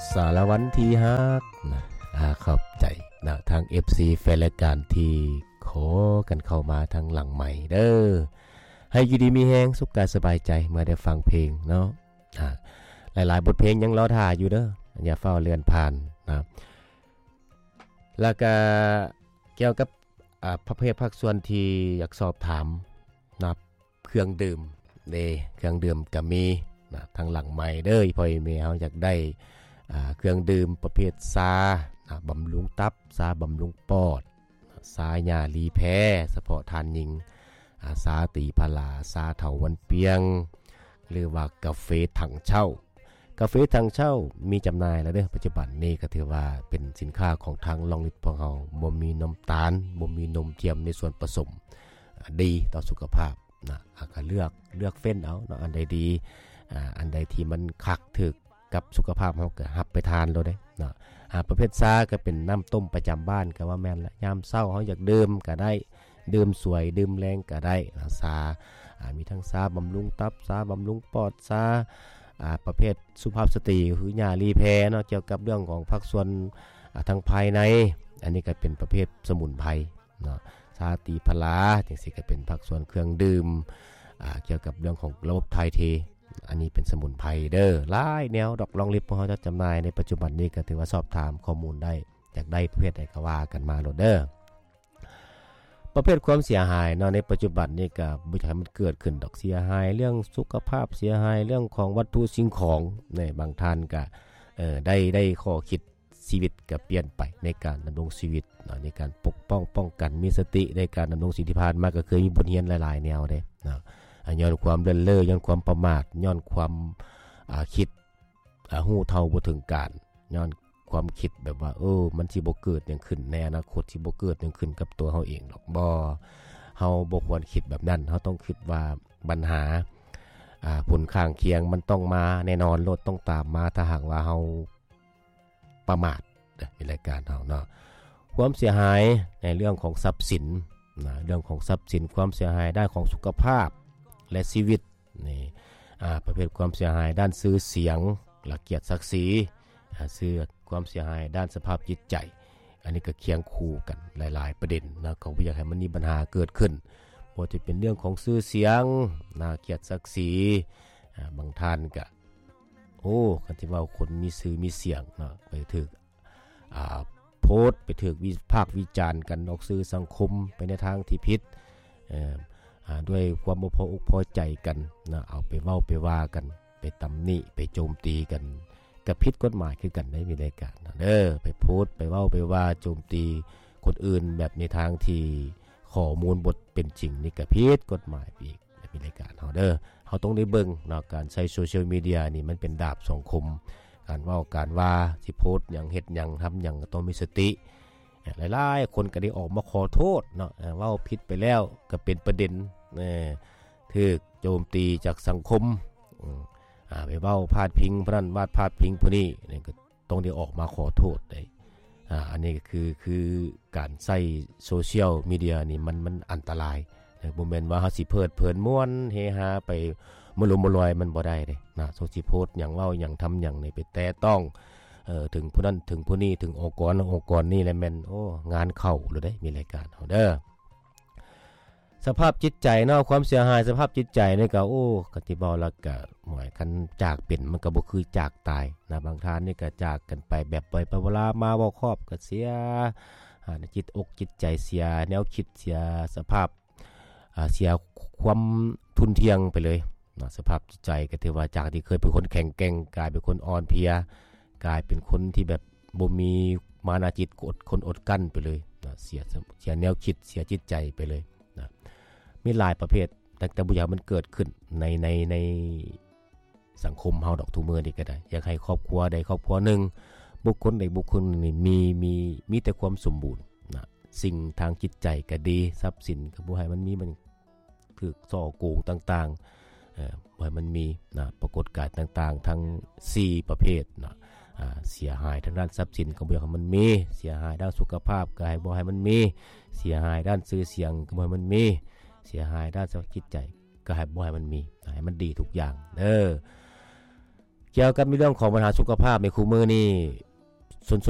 ສາລະວັນທີ່ຮັກນະ ອາ ຂອບໃຈນະ ທາງເອັຟຊີແຟນລາຍການທີ່ຂໍກັນເຂົ້າມາທາງຫຼັງໄມເດີ. ໃຫ້ຢູ່ດີມີແຮງ ສຸກກາຍສະບາຍໃຈເມື່ອໄດ້ຟັງເພງເນາະ. ອາ ຫຼາຍໆບົດເພງຍັງລໍຖ້າຢູ່ເດີ ຢ່າຟ້າວເລື່ອນຜ່ານນະ. ແລ້ວກະກ່ຽວກັບ ອາ ປະເພດພາກສ່ວນທີ່ຢາກສອບຖາມນະ ເຄື່ອງດື່ມເດ້ ເຄື່ອງດື່ມກະມີນະ ທາງຫຼັງໄມເດີ ອີ່ພໍ່ອີ່ແມ່ເຮົາຢາກໄດ້ ອາ ເຄື່ອງດື່ມປະເພດຊານະ ບຳລຸງຕັບ ຊາບຳລຸງປອດ ຊາຫຍ້າລີແພ ສະເພາະທ່ານຍິງ ອາ ຊາຕີພາລາ ຊາເຖົາວັນປຽງ ຫຼືວ່າກາເຟຖັງເຊົ່າ. ກາເຟຖັງເຊົ່າມີຈຳໜ່າຍແລ້ວເດີ ປັດຈຸບັນນີ້ກໍຖືວ່າເປັນສິນຄ້າຂອງທາງລອງລິດພວກເຮົາ ບໍ່ມີນ້ຳຕານ ບໍ່ມີນົມທຽມໃນສ່ວນປະສົມ ອາ ດີຕໍ່ສຸຂະພາບນະ. ອາ ກໍເລືອກ ເລືອກເຟ້ນເອົາເນາະ ອັນໃດດີ ອາ ອັນໃດທີ່ມັນຄັກຖືກກັບສຸຂະພາບເຮົາ ກໍຮັບໄປທານໂລດເດ້ເນາະ. ອາ ປະເພດຊາກໍເປັນນ້ຳຕົ້ມປະຈຳບ້ານ ກໍວ່າແມ່ນລະ ຍາມເຊົ້າເຮົາຢາກດື່ມກໍໄດ້ ດື່ມສວຍ ດື່ມແລງກໍໄດ້ນະ ຊາ ອາ ມີທັງຊາບຳລຸງຕັບ ຊາບຳລຸງປອດ ຊາ ອາ ປະເພດສຸພາບສະຕີ ຄືຫຍ້າລີແພເນາະ ກ່ຽວກັບເລື່ອງຂອງພາກສ່ວນ ອາ ທາງພາຍໃນ ອັນນີ້ກໍເປັນປະເພດສະໝຸນໄພເນາະ ຊາຕີພາລາ ຈັ່ງຊີ້ກໍເປັນພາກສ່ວນເຄື່ອງດື່ມ ອາ ກ່ຽວກັບເລື່ອງຂອງລະບົບຖ່າຍເທ ອັນນີ້ເປັນສະໝຸນໄພເດີ ຫຼາຍແນວດອກ ລອງລິດພວກເຮົາຈະຈຳໜ່າຍໃນປັດຈຸບັນນີ້ ກໍຖືວ່າສອບຖາມຂໍ້ມູນໄດ້ ຢາກໄດ້ປະເພດໃດກໍວ່າກັນມາໂລດເດີ. ປະເພດຄວາມເສຍຫາຍເນາະ ໃນປັດຈຸບັນນີ້ກໍບໍ່ຢາກໃຫ້ມັນເກີດຂຶ້ນດອກ ເສຍຫາຍເລື່ອງສຸຂະພາບ ເສຍຫາຍເລື່ອງຂອງວັດຖຸສິ່ງຂອງ ໃນບາງທ່ານກໍ ເອີ ໄດ້ ໄດ້ຂໍ້ຄິດ ຊີວິດກໍປ່ຽນໄປໃນການດຳລົງຊີວິດເນາະ ໃນການປົກປ້ອງປ້ອງກັນ ມີສະຕິໃນການດຳລົງຊີວິດ. ທີ່ຜ່ານມາກໍເຄີຍມີບົດຮຽນຫຼາຍໆແນວເດ້ເນາະ ອາ ຍ້ອນຄວາມເລີນເລີ ຍ້ອນຄວາມປະໝາດ ຍ້ອນຄວາມ ອາ ຄິດ ອາ ຮູ້ເທົ່າບໍ່ເຖິງການ ຍ້ອນຄວາມຄິດແບບວ່າ ເອີ ມັນຊິບໍ່ເກີດຫຍັງຂຶ້ນ ໃນອະນາຄົດຊິບໍ່ເກີດຫຍັງຂຶ້ນກັບຕົວເຮົາເອງດອກ. ບໍ່ ເຮົາບໍ່ຄວນຄິດແບບນັ້ນ ເຮົາຕ້ອງຄິດວ່າບັນຫາ ອາ ຜົນຂ້າງຄຽງມັນຕ້ອງມາແນ່ນອນໂລດ ຕ້ອງຕາມມາ ຖ້າຫາກວ່າເຮົາ ປະໝາດເດີ ມີລາຍການເຮົາເນາະ. ຄວາມເສຍຫາຍໃນເລື່ອງຂອງຊັບສິນນະ ເລື່ອງຂອງຊັບສິນ ຄວາມເສຍຫາຍດ້ານຂອງສຸຂະພາບ ແລະ ຊີວິດນີ້ ອາ ປະເພດຄວາມເສຍຫາຍດ້ານຊື່ສຽງ ແລະ ກຽດສັກສີ ອາ ຊື່ ຄວາມເສຍຫາຍດ້ານສະພາບຈິດໃຈ ອັນນີ້ກໍຄຽງຄູ່ກັນຫຼາຍໆປະເດັນນະ ກໍບໍ່ຢາກໃຫ້ມັນມີບັນຫາເກີດຂຶ້ນ ບໍ່ວ່າຈະເປັນເລື່ອງຂອງຊື່ສຽງນະ ກຽດສັກສີ ອາ ບາງທ່ານກໍ ໂອ້ ຄັນຊິເວົ້າຄົນມີຊື່ມີສຽງເນາະ ໄປຖືກ ອາ ໂພສ ໄປຖືກວິພາກວິຈານກັນອອກສື່ສັງຄົມໄປໃນທາງທີ່ຜິດ ເອີ ອາ ດ້ວຍຄວາມບໍ່ພໍອົກພໍໃຈກັນນະ ເອົາໄປເວົ້າໄປວ່າກັນ ໄປຕຳໜິ ໄປໂຈມຕີກັນ ກໍຜິດກົດໝາຍຄືກັນເດ້ ມີລາຍການເນາະເດີ ໄປໂພສ ໄປເວົ້າໄປວ່າໂຈມຕີຄົນອື່ນແບບໃນທາງທີ່ຂໍ້ມູນບໍ່ເປັນຈິງ ນີ້ກໍຜິດກົດໝາຍໄປອີກ. ມີລາຍການເຮົາເດີ ເຮົາຕ້ອງໄດ້ເບິ່ງເນາະ ການໃຊ້ໂຊຊຽວມີເດຍນີ້ມັນເປັນດາບສອງຄົມ ການເວົ້າການວ່າ ຊິໂພສຫຍັງ ເຮັດຫຍັງ ທຳຫຍັງ ກໍຕ້ອງມີສະຕິ. ຫຼາຍໆຄົນກໍໄດ້ອອກມາຂໍໂທດເນາະ ເວົ້າຜິດໄປແລ້ວກໍເປັນປະເດັນ ເອີ ຖືກໂຈມຕີຈາກສັງຄົມ ອາ ໄປເວົ້າພາດພິງຜູ້ນັ້ນ ວາດພາດພິງຜູ້ນີ້ ກໍ ຕ້ອງໄດ້ອອກມາຂໍໂທດໄດ໋. ອາ ອັນນີ້ກໍຄື ຄືການໃຊ້ໂຊຊຽວມີເດຍນີ້ ມັນ ມັນອັນຕະລາຍເດີ ບໍ່ແມ່ນວ່າເຮົາຊິເພີດເພີນມ່ວນເຮຮາໄປມະລຸມມະລອຍ ມັນບໍ່ໄດ້ເດ້ນະ. ສົງຊິໂພສຫຍັງ ເວົ້າຫຍັງ ທຳຫຍັງນີ້ ໄປແຕະຕ້ອງ ເອີ ເຖິງຜູ້ນັ້ນເຖິງຜູ້ນີ້ ເຖິງອົງກອນນັ້ນອົງກອນນີ້ ແລ້ວແມ່ນ ໂອ້ ງານເຂົ້າໂລດເດ້ ມີລາຍການເຮົາເດີ. ສະພາບຈິດໃຈເນາະ ຄວາມເສຍຫາຍສະພາບຈິດໃຈນີ້ກໍ ໂອ້ ຄັນຊິເວົ້າແລ້ວກໍ ໂອ້ຍ ຄັນຈາກເປັນມັນກໍບໍ່ຄືຈາກຕາຍນະ. ບາງທ່ານນີ້ກໍຈາກກັນໄປແບບບໍ່ໄດ້ປະວາລາ ມາບໍ່ຄອບກໍເສຍ ອາ ຈິດອົກຈິດໃຈເສຍ ແນວຄິດເສຍ ສະພາບ ອາ ເສຍຄວາມທຸ່ນທ່ຽງໄປເລີຍນະ. ສະພາບຈິດໃຈກໍຖືວ່າຈາກທີ່ເຄີຍເປັນຄົນແຂງແກ່ງ ກາຍເປັນຄົນອ່ອນເພຍ ກາຍເປັນຄົນທີ່ແບບບໍ່ມີມານະຈິດ ອດ ຄົນອົດກັ້ນໄປເລີຍນະ. ເສຍ ເສຍແນວຄິດ ເສຍຈິດໃຈໄປເລີຍນະ. ມີຫຼາຍປະເພດ ແຕ່ ແຕ່ບໍ່ຢາກໃຫ້ມັນເກີດຂຶ້ນໃນ ໃນ ໃນສັງຄົມເຮົາດອກ ທຸກມື້ນີ້ກໍໄດ້. ຢາກໃຫ້ຄອບຄົວໃດຄອບຄົວໜຶ່ງ ບຸກຄົນໃດບຸກຄົນໜຶ່ງນີ້ ມີ ມີ ມີແຕ່ຄວາມສົມບູນນະ. ສິ່ງທາງຈິດໃຈກໍດີ ຊັບສິນກໍບໍ່ໃຫ້ມັນມີ ມັນ ຖືກສໍ້ໂກງຕ່າງໆ ເອີ ບໍ່ໃຫ້ມັນມີນະ. ປາກົດການຕ່າງໆ ທັງສີ່ປະເພດນະ ອາ ເສຍຫາຍທາງດ້ານຊັບສິນກໍບໍ່ຢາກໃຫ້ມັນມີ ເສຍຫາຍດ້ານສຸຂະພາບກໍໃຫ້ບໍ່ໃຫ້ມັນມີ ເສຍຫາຍດ້ານຊື່ສຽງກໍບໍ່ໃຫ້ມັນມີ ເສຍຫາຍດ້ານສະພາບຈິດໃຈກໍໃຫ້ບໍ່ໃຫ້ມັນມີ ໃຫ້ມັນດີທຸກຢ່າງເດີ. ກ່ຽວກັບໃນເລື່ອງຂອງບັນຫາສຸຂະພາບໃນຄູ່ມື້ນີ້ ຊົນຊົນ